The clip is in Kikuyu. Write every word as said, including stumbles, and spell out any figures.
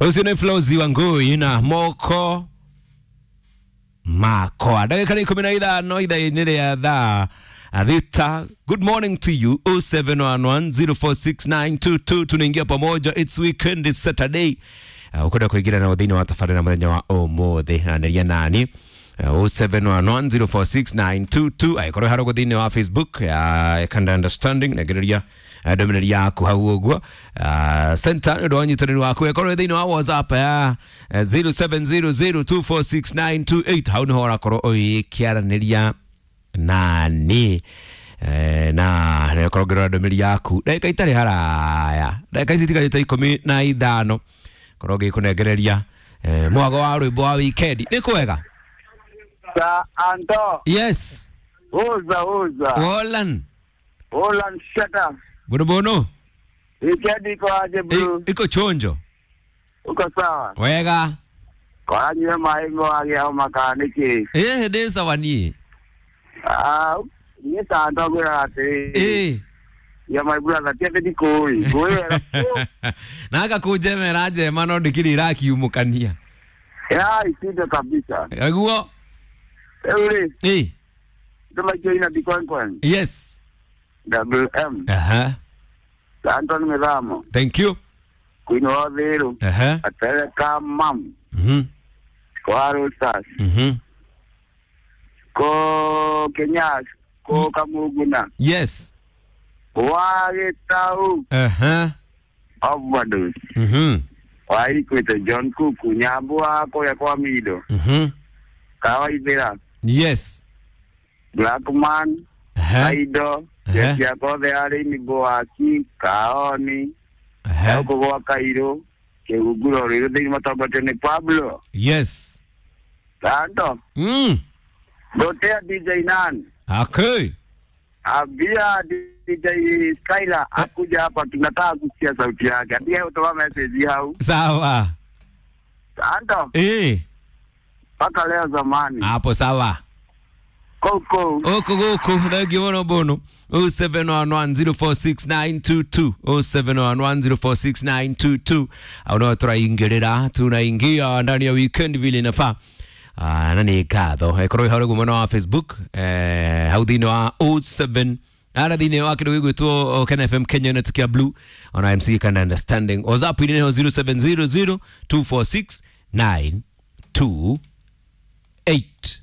Ucio nĩ Flozi wa Ngui na moko makwa. Ndagĩka nĩ ikũmi na ithano ithaa-inĩ rĩa thaa thita. Good morning to you. oh seven one one zero four six nine two two. Tunaingia pamoja, it's weekend, it's Saturday. Uh, ukwenda kuingira na thĩinĩ wa tabarĩra mũthenya wa ũmũthĩ na nĩria nani oh seven one one zero four six nine two two. Angĩkorwo harĩ thĩinĩ wa Facebook ya Kanda Understanding negereria ndũmĩrĩri yaku hau ũguo. Center nĩ ũndũ wa ũnyitanĩri waku. Ĩkorwo thĩinĩ wa WhatsApp ya zero seven zero zero two four six nine two eight, hau nĩho ũrakorwo ũgĩkĩaranĩria nani na nĩkorwo ngĩrora ndũmĩrĩri yaku ndagĩka itarĩ haraya, ndagĩka ici itigarĩte ikũmi na ithano korwo ngĩkũnengereria mwago wa rwĩmbo wa weekend. Nĩ kwega? Sa Anto. Yes. Uza uza. Wolan. Wolan shut up. Bono bono. Weekend iko aje bro? Iko chonjo. Uko sawa? Wega. Kwa nywe maingo age au makaniki. Eh, ndi sawa ni. Ah, ni sa Anto gwira ati. Eh. Ya my brother tia ndi koi. Koi. Na agakũnjemera njema no ndikiri irakiumũkania. Ya isindo kabisa. Aguo. Eure. Eh. Ndoma joina bikwankwan. Yes. W M. Aha. Anton Methamo. Thank you. Queen Odhiru. Aha. Atereka mam. Mhm. Ko Arusas. Mhm. Ko Kenyas, ko Kamuguna. Yes. Wa Gitau. Aha. Overdose. Mhm. Wa Ikwete John Kuku Nyambua ko kwa Mido. Mhm. Kawaithira. Yes. Blackman. Aha. Aido. Jeshi yakothe arĩmi Boaki, Kaoni, gũkũ gwa Kairũ, Kĩhunguro rĩrĩ thĩinĩ matongoretio nĩ Pablo. Yes. Tando. Mm. Gotea D J Nan. Okay. Ambia D J Skyla akuja hapa, tunataka kusikia sauti yake. Ambia utoa message hau. Sawa. Tando. Eh. Paka leo zamani. Hapo sawa. Koko. Oko goko, thank you bono bono. oh seven one one zero four six nine two two oh seven one one zero four six nine two two. Au tunaingerera, tunaingia ndani ya weekend vile inafaa. Ah, na ni katho. Ekorwo hau guo mwena wa Facebook, eh hau thĩinĩ wa oh seven ara thĩinĩ wa kĩndũ gĩgwĩtwo Ken F M Kenya na tukia blue ona M C Kanda Understanding. WhatsApp ni zero seven zero zero two four six nine two eight.